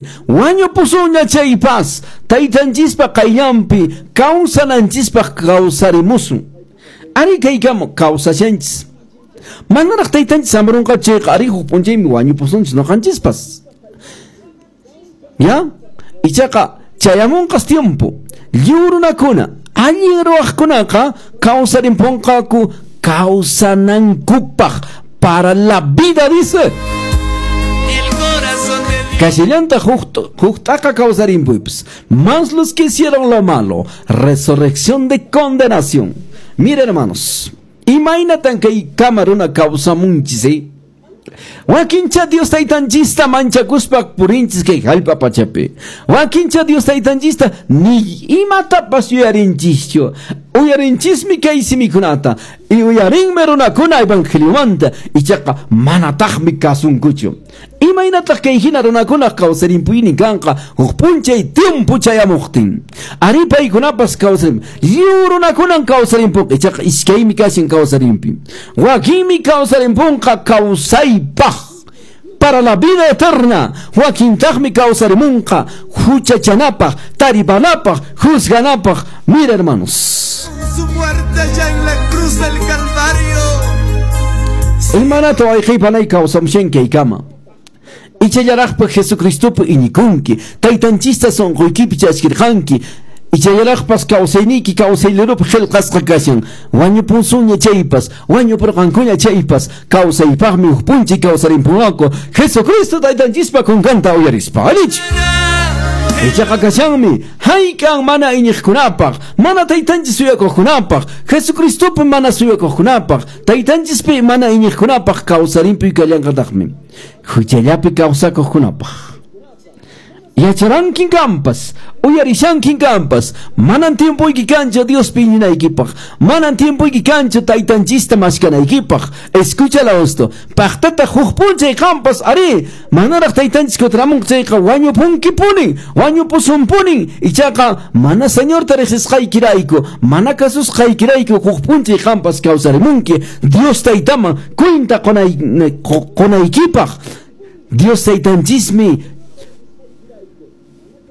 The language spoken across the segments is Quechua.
Wañupusunña chaypas, taytanchispa qayllanpi kawsananchispaq kawsarimusun. Ari kaykama kawsashanchis. Manaraq taytanchis hamurunqa chayqa ari huk p'unchaymi wañupusunchis noqanchispas. Ya? Ichaqa chayamunqas tiempo. Lliw runakuna, allin ruwaqkunaqa kawsarimpunqaku kawsanankupaq para la vida, dice. Kashallantaq huk t'aqa kawsarimpuypas. Más los que hicieron lo malo, resurrección de condenación. Mira, hermanos, imaynatan kay kama runa kawsamunchis, eh? Wakincha Dios taytanchista manchakuspa purinchis kay hallp'a pachapi. Wakincha Dios taytanchista ni imatapas yuyarinchischu. Uyarinchismi kay simikunata. Y uyarinmi runakuna evangeliomanta. Ichaqa manataqmi kasunkuchu. Imaynataq kay hina runakuna kawsarimpuynin kanqa huk p'unchay tiempo chayamuqtin. Ari paykunapas kawsarim. Lliw runakunan kawsarimpunqa. Ichaqa iskaymi kashin kawsarimpi. Wakinmi kawsarimpunqa kawsaypaq. Para la vida eterna. Wakintaqmi kawsarimunqa huchachanapaq, taripanapaq, juzganapaq. Mira, hermanos. Su muerte ya en la cruz del Calvario. Imanata wayqiypanay kawsamushan kaykama. Ichallaraqpa Jesucristopi iñikunki, taytanchista sunquykipi chaskirqanki, ichallaraqpas kawsayniyki kawsaylirupi qillqasqa kashan, wañupunsuña chaypas, wañupurqankuña chaypas, kawsaypaqmi huk p'unchay kawsarimpunqaku, Jesucristo taytanchispa kunkanta uyarispa. Allichu? Ichaqa kashanmi, hayk'an mana iñiqkunapaq, mana taytanchis suyakuqkunapaq, Jesucristopi mana suyakuqkunapaq, taytanchispi mana iñiqkunapaq kawsarimpuy kallanqataqmi. Huchallapi kawsakuqkunapaq. Yacharankin kampas, uyarishankin kampas, manan tiempoyki kanchu Diospi iñinaykipaq, manan tiempoyki kanchu taytanchista maskanaykipaq. Escúchala esto. Paqtata huk p'unchay qampas, ari, manaraq taytanchis kutiramunqa chayqa wañupunkipunin, wañupusunpunin. Ichaqa mana Señorta riqsisqaykirayku, mana kasusqaykirayku huk p'unchay qampas kawsarimunki Dios taytaman cuenta qonaykipaq. Dios taytanchismi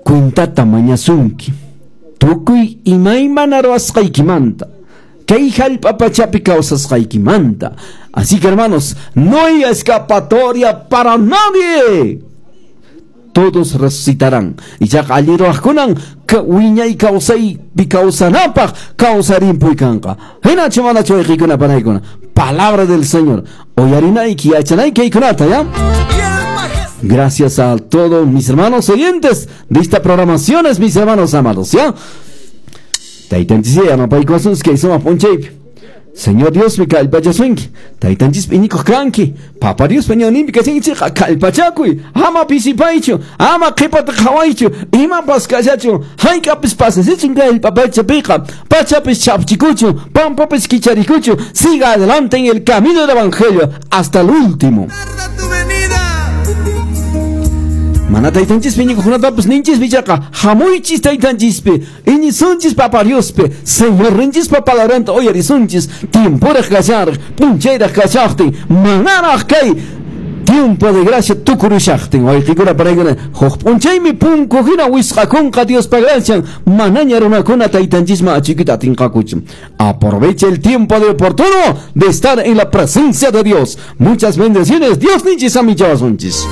cuentata mañasunki tukuy imaymana ruwasqaykimanta, kay hallp'a pachapi kawsasqaykimanta. Así que, hermanos, no hay escapatoria para nadie. Todos resucitarán. Ichaqa allin ruwaqkunan wiñay kawsaypi kawsanapaq kawsarimpuy kanqa. Hinachu manachu wayqiykuna panaykuna? Palabra del Señor. Uyarinayki yachanayki kaykunata, ¿ya? Gracias a todos mis hermanos oyentes de esta programaciones, mis hermanos amados, ¿ya? Taytanchis yanapaykuwasunchis kay sumaq p'unchaypi. Señor Dios mi kallpachasunki. Taytanchispi iñikuq kanki. Papa Diospa ñawninpi kashankichikqa kallpachakuy. Ama pisipaychu, ama qhipata qhawaychu, imapas kashachu, hayk'apis pasasichun kay hallp'a pachapiqa, pachapis chapchikuchu, pampapis kicharikuchu. Siga adelante en el camino del evangelio hasta el último. Tarda tu venida. Mana taytanchispi iñikuqkunatapas ninchispi ichaqa hamuychis taytanchispi, iñisunchis Papa Diospi, Señorninchispa palabranta uyarisunchis, tiemporaq kasharaq, p'unchayraq kashaqtin, manaraq kay tiempo de gracia tukurushaqtin. Wayqikuna paraykuna, huk p'unchaymi punku hina wisqakunqa Diospa gracian, manaña runakuna taytanchisman achikuyta atinqakuchu. Aprovecha el tiempo de oportuno de estar en la presencia de Dios. Muchas bendiciones. Dios ninchis amichawasunchis.